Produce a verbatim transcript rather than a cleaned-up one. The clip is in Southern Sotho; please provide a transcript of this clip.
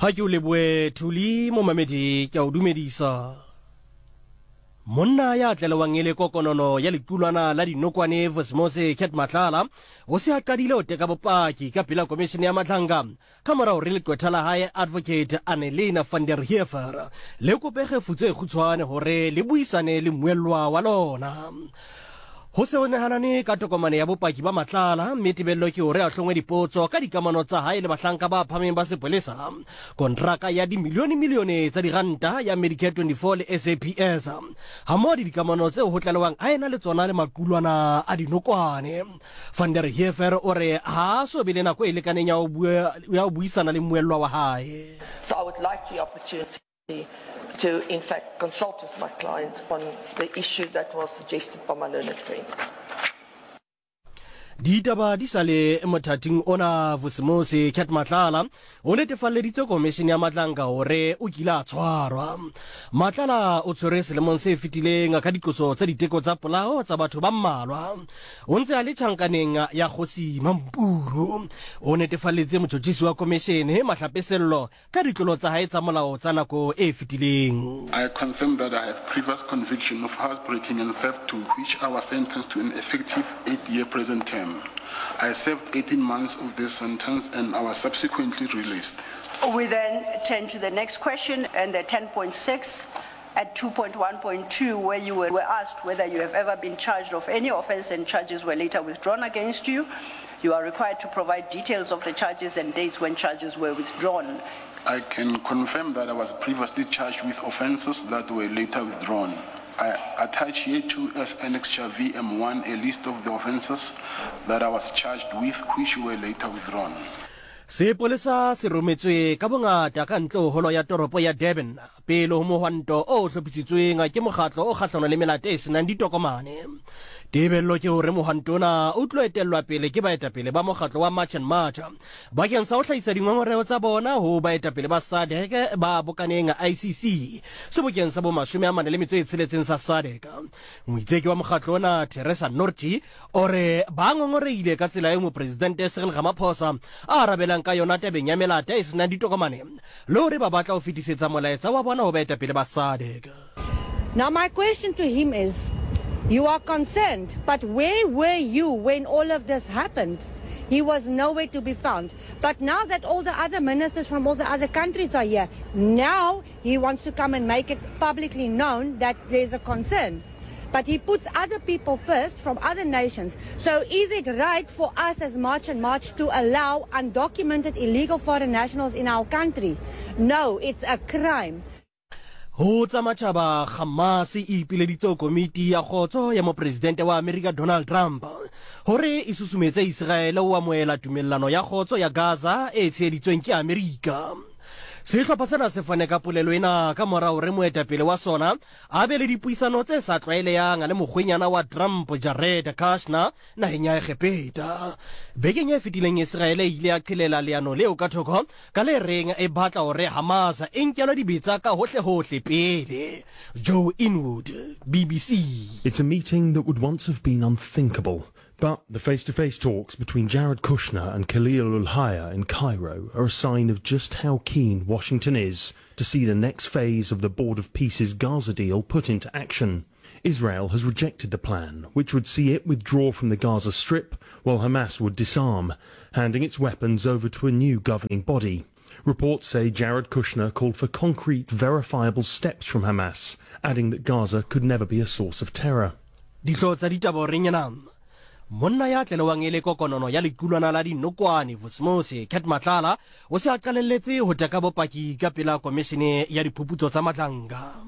Ha ke o lebohe Thuli momamedi ke a o dumedisa. Monna ya tlelewang e le kokonono ya lequlwana la dinokwane Vusimuzi Cat Matlala o se a qadile ho teka bopaki ka pela komishene ya Madlanga ka mora hore leqwetha la hae Advocate Annelena van der Heever le kope kgefutso e kgutshwane hore le buisane le mmuellwa wa lona. Ho se ho nehanane ka tokomane ya bopaki ba Matlala mme tebello ke hore a hlongwe dipotso ka dikamano tsa hae le bahlanka ba phahameng ba sepolesa, kontraka ya dimilione-milione tsa diranta ya Medicare twenty-four le S A P S hammoho le dikamano tseo ho tlalewang a ena le tsona le maqulwana a dinokwane. Van der Heever o re ha a so be le nako e lekaneng ya ho bua, ya ho buisana le mmuellwa wa hae. So I would like the opportunity to in fact consult with my client on the issue that was suggested by my learned friend. Ditaba di sa le mothating ona, Vusimuzi Cat Matlala o netefalleditse komishene ya Madlanga hore o kile a tshwarwa. Matlala o tshwerwe selemong se fetileng ka diqoso tsa diteko tsa polao tsa batho ba mmalwa. O ntse a le tjhankaneng ya Kgosi Mampuru. O netefalleditse motjhotjhisi wa komishene Mahlape Sello ka ditlolo tsa hae tsa molao tsa nako e fetileng. I confirm that I have previous conviction of housebreaking and theft to which I was sentenced to an effective eight-year prison term. I served eighteen months of this sentence and I was subsequently released. We then turn to the next question and the ten point six at two point one point two, where you were asked whether you have ever been charged of any offense and charges were later withdrawn against you. You are required to provide details of the charges and dates when charges were withdrawn. I can confirm that I was previously charged with offences that were later withdrawn. I attach here to as Annexure V M one a list of the offences that I was charged with which were later withdrawn. Sepolesa se rometswe ka bongata ka ntle ho holo ya toropo ya Durban pele ho mohwanto o hlophisitsweng ke mokgatlo o kgahlano le melato e senang ditokomane. Tebello ke hore mohwanto ona o tlo etellwa pele ke baetapele ba mokgatlo wa March and March bakeng sa ho hlahisa dingongoreho tsa bona ho baetapele ba S A D C ba bokaneng I C C sebokeng sa bo mashome a mane le metso e tsheletseng sa S A D C. Moitseki wa mokgatlo ona Teresa Nortje o re ba ngongoreile ka tsela eo mopresidente Cyril Ramaphosa a arabelang ka yona tabeng ya melato e senang ditokomane le hore ba batla ho fetisetsa molaetsa wa bona ho baetapele ba S A D C. Now my question to him is, you are concerned, but where were you when all of this happened? He was nowhere to be found. But now that all the other ministers from all the other countries are here, now he wants to come and make it publicly known that there's a concern. But he puts other people first from other nations. So is it right for us as March and March to allow undocumented illegal foreign nationals in our country? No, it's a crime. Ho tsa matjhaba, Hamas e ipileditse komiti ya kgotso ya mopresidente wa Amerika Donald Trump hore e susumetse Israel ho amohela tumellano ya kgotso ya Gaza e tsheheditsweng ke Amerika. Sehlopha sena se fane ka polelo ena ka mora hore moetapele wa sona a be le dipuisano tse sa tlwaelehang le mokgwenyana wa Trump Jared Kushner naheng ya Egepeta. Bekeng e fetileng Israel e ile ya qhelela leano leo ka thoko ka le reng e batla hore Hamas e nkelwe dibetsa ka hohle-hohle pele. Joe Inwood, B B C. It's a meeting that would once have been unthinkable. But the face-to-face talks between Jared Kushner and Khalil al-Hayya in Cairo are a sign of just how keen Washington is to see the next phase of the Board of Peace's Gaza deal put into action. Israel has rejected the plan, which would see it withdraw from the Gaza Strip while Hamas would disarm, handing its weapons over to a new governing body. Reports say Jared Kushner called for concrete, verifiable steps from Hamas, adding that Gaza could never be a source of terror. Dihlooho tsa ditaba horeng ena. Monna ya tlelewang e le kokonono ya lequlwana la dinokwane Vusimuzi Cat Matlala o se a qalelletse ho teka bopaki ka pela komishene ya diphuputso tsa Madlanga.